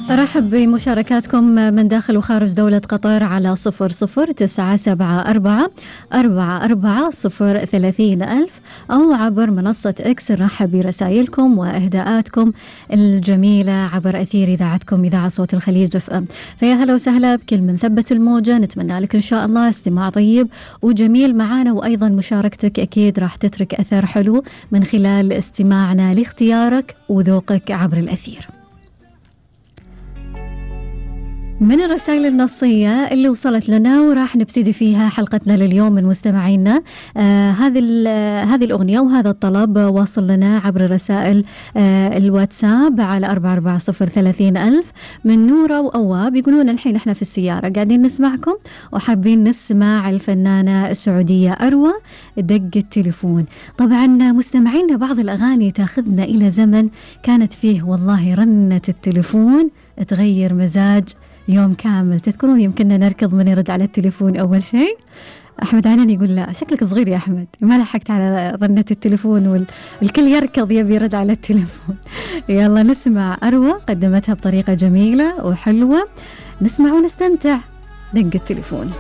أرحب بمشاركاتكم من داخل وخارج دولة قطر على 00974 أو عبر منصة إكس. نرحب برسائلكم وإهداءاتكم الجميلة عبر أثير إذاعتكم إذاعة صوت الخليج اف ام. فيا هلا وسهلا بكل من ثبت الموجة. نتمنى لك إن شاء الله استماع طيب وجميل معنا، وأيضا مشاركتك أكيد راح تترك أثر حلو من خلال استماعنا لاختيارك وذوقك عبر الأثير. من الرسائل النصية اللي وصلت لنا وراح نبتدي فيها حلقتنا لليوم من مستمعينا. هذه الأغنية وهذا الطلب واصل لنا عبر رسائل الواتساب على 44030 من نورة وأواب. يقولون الحين احنا في السيارة قاعدين نسمعكم وحابين نسمع الفنانة السعودية أروى دق التليفون. طبعا مستمعينا بعض الأغاني تاخذنا إلى زمن كانت فيه والله رنة التليفون تغير مزاج يوم كامل. تذكرون يمكننا نركض من يرد على التليفون أول شيء؟ أحمد عنان يقول لا شكلك صغير يا أحمد ما لحقت على رنة التليفون والكل يركض يبي يرد على التليفون. يلا نسمع أروى قدمتها بطريقة جميلة وحلوة، نسمع ونستمتع. دق التليفون.